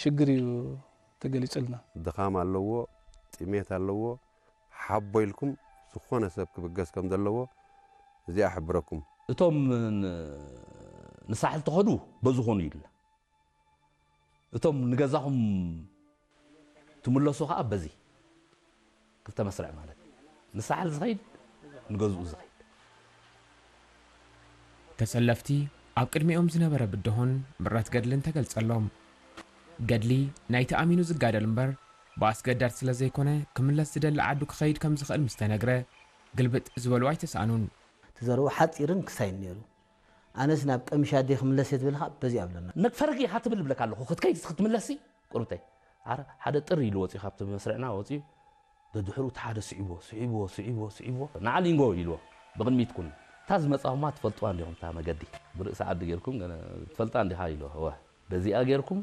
ሽግር እዩ ተገሊጹልና። ድኻም ኣለዎ፣ ጥሜት ኣለዎ። ሓቦ ኢልኩም ዝኾነ ሰብ ክብገስ ከም ዘለዎ እዚኣ እሕብረኩም። እቶም ንሳሕል ተኸዱ በዚ ኾኑ ኢልና፣ እቶም ንገዛኹም ትምለሱ ከዓ በዚ ክልተ መስርዕ ማለት እዩ። ንሳሕል ዝኸይድ ንገዝኡ ዝኸይድ። ተሰለፍቲ ኣብ ቅድሚኦም ዝነበረ ብድሆን ምረት ገድልን ተገልጸሎም። ገድሊ ናይቲ ኣሚኑ ዝጋደል እምበር ብኣስገዳድ ስለ ዘይኮነ ክምለስ ዝደሊ ዓዱ ክኸይድ ከም ዝኽእል ምስ ተነግረ ግልብጥ ዝበሉ ኣይተሳእኑን። እቲ ዘረቡ ሓጺርን ክሳይን ነይሩ። ኣነስ ናብ ቀምሽ ኣደይ ክምለስ እየ ትብል ኸዓ በዚ ኣለና። ነግ ፈረግ ኢኻ ትብል እብለካ ኣለኹ ክትከይድ ክትምለሲ ቁርብተይ። ኣረ ሓደ ጥር ኢሉ ወፂኡ ካብቲ መስርዕና ወፂኡ ደድሕሩ እቲ ሓደ ስዒቦ ስዒቦ ስዒቦ ስዒቦ ንዓ ሊንጎ ኢልዎ ብቕድሚት ኩን እታ ዝመፃኹማ ትፈልጥዋ እንዲኹም እታ መገዲ ብርእሲ ዓዲ ጌርኩም ገለ ትፈልጣ እንዲኻ ኢልዎ እወ በዚኣ ጌርኩም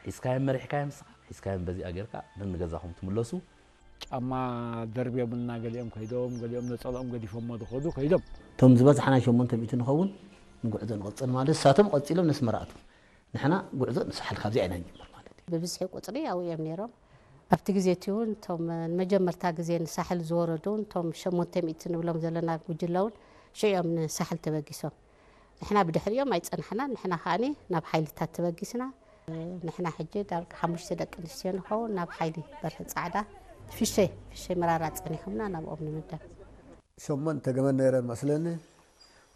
ሒዝካዮም መሪሕካዮም ንስኻ ሒዝካዮም በዚኣ ጌርካ ነንገዛኹም ትምለሱ ጫማ ደርብዮምልና ገሊኦም ከይዶም ገሊኦም ነፀልኦም ገዲፎሞ ዝኸዱ ከይዶም እቶም ዝበዝሓና ሸሞንተ ሚእቲ ንኸውን ንጉዕዞ ንቐፅል ማለት ንሳቶም ቀፂሎም ነስመራ ኣትዉ ንሕና ጉዕዞ ንሳሕል ካብዚኣ ኢና ንጅምር ማለት እዩ። ብብዝሒ ቁፅሪ ኣብኡ እዮም ነይሮም። ኣብቲ ግዜ እቲ እውን እቶም ንመጀመርታ ግዜ ንሳሕል ዝወረዱ እውን እቶም ሸሞንተ ሚእቲ ንብሎም ዘለና ጉጅለ እውን ሽዑ እዮም ንሳሕል ተበጊሶም። ንሕና ብድሕሪኦም ኣይፀናሕናን። ንሕና ከዓኒ ናብ ሓይልታት ተበጊስና። ንሕና ሕጂ ዳርጋ ሓሙሽተ ደቂ ኣንስትዮ ንኸውን ናብ ሓይሊ በርሀ ፃዕዳ ፍሸ ፍሸ መራራ ፀኒሖምና ናብኦም ንምደብ። ሸሞንተ ገመድ ነይረን መስለኒ።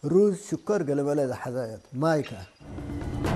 ሩዝ፣ ሽኮር፣ ገለመለ ዝሓዛ እየን። ማይ ከኣ